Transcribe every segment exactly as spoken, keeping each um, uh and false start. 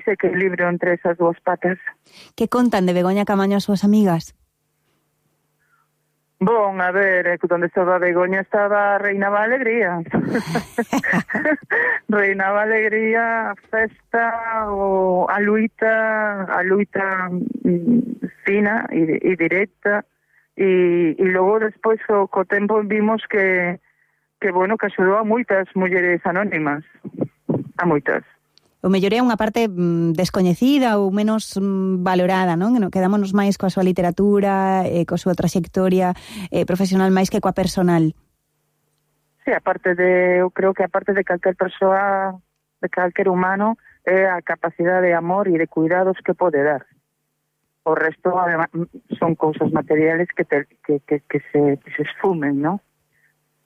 ese equilibrio entre esas dúas patas. Que contan de Begoña Camaño as súas amigas? Bon, a ver, onde estaba Begoña estaba reinaba a alegría. Reinaba a alegría, a festa, o a luita, a luita mm, fina e, e directa. E, e logo despois o, co tempo vimos que, que, bueno, que axudou a moitas mulleres anónimas. A moitas. O mellor é unha parte mm, descoñecida ou menos mm, valorada, non? Quedámonos máis coa súa literatura, eh, coa súa traxectoria eh, profesional máis que coa personal. Sí, aparte de, eu creo que aparte de calquer persoa, de calquer humano, é a capacidade de amor e de cuidados que pode dar. O resto, además, son cousas materiales que, te, que, que, que, se, que se esfumen, non?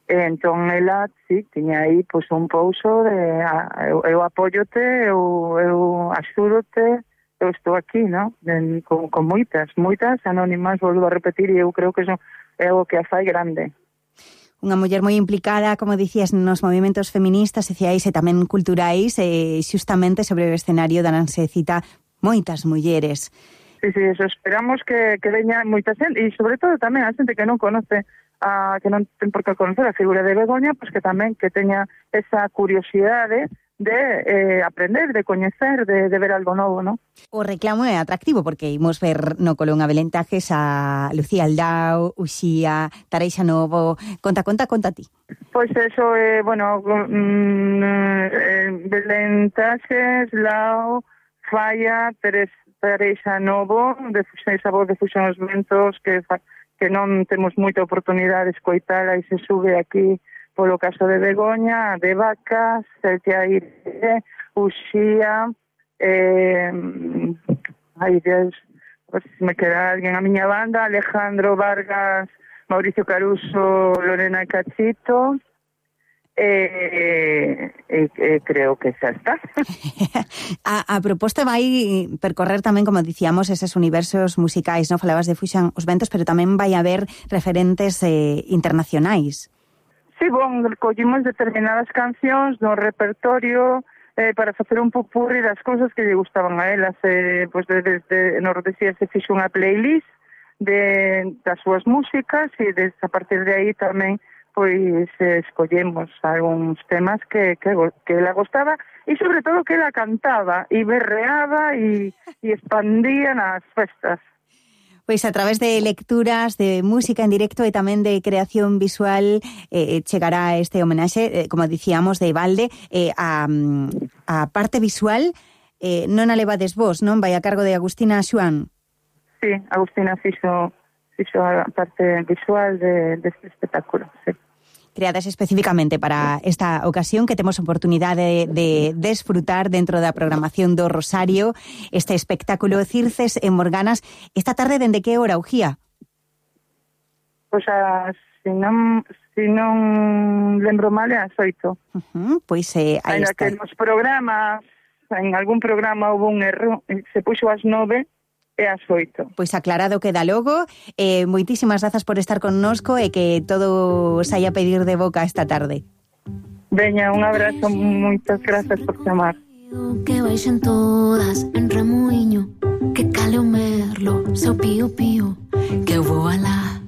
Entón, ela, sí, tiña aí pois, un pouso de a, eu, eu apóyote, eu, eu axúdote, eu estou aquí, non? Con, con moitas, moitas anónimas, volvo a repetir, e eu creo que eso é o que a fai grande. Unha muller moi implicada, como dicías, nos movimentos feministas, sociais e tamén culturais, e xustamente sobre o escenario dananse cita moitas mulleres. Sí, sí, eso esperamos que, que veña moita xente, e sobre todo tamén a xente que non conoce a que non ten por que conocer a figura de Begoña, pois que tamén que teña esa curiosidade de eh, aprender, de coñecer, de, de ver algo novo, non? O reclamo é atractivo porque imos ver no Colón a Belén Tajes a Lucía Aldao, Uxía, Tareixa Novo. Conta, conta, conta ti. Pois eso, eh, bueno, mm, eh, Belén Tajes, Lao, Falla, Teres, Tareixa Novo, de esa voz de Fusión os Ventos, que fa, que non temos moita oportunidade de escoitala e se sube aquí polo caso de Begoña, de Vacas, Celtia Aire, Uxía, eh, ai Deus, pues, me queda alguén a miña banda, Alejandro Vargas, Mauricio Caruso, Lorena Cachito, e eh, eh, eh, creo que xa está. a, a proposta vai percorrer tamén, como dicíamos, eses universos musicais, non? Falabas de Fuxan os Ventos, pero tamén vai haber referentes eh, internacionais. Sí, bon, collimos determinadas cancións no repertorio eh, para facer un popurri das cousas que lle gustaban a elas. Eh, pois desde de, Nordesía se fixo unha playlist de, das súas músicas e des, a partir de aí tamén pois eh, escollemos algúns temas que, que, que ela gostaba e sobre todo que ela cantaba e berreaba e, e expandía nas festas. Pois a través de lecturas, de música en directo e tamén de creación visual eh, chegará este homenaxe, eh, como dicíamos, de Valde, eh, a, a parte visual eh, non a levades vos, non? Vai a cargo de Agustina Xuan. Sí, Agustina fixo, fixo a parte visual de, deste espectáculo, sí. Creadas especificamente para esta ocasión, que temos oportunidade de desfrutar dentro da programación do Rosario, este espectáculo Circes en Morganas. Esta tarde, dende que hora, Uxía? Pois a, se non, se non lembro mal, é as oito. Uh-huh, pois eh, aí Ainda está. que nos programas, en algún programa houve un erro, se puxo ás nove, é ás oito. Pois aclarado queda logo. Eh, moitísimas grazas por estar connosco e que todo saia a pedir de boca esta tarde. Veña, un abrazo, moitas grazas por chamar. Que baixen todas en remuiño, que cale o merlo, seu pío pío, que eu vou alá.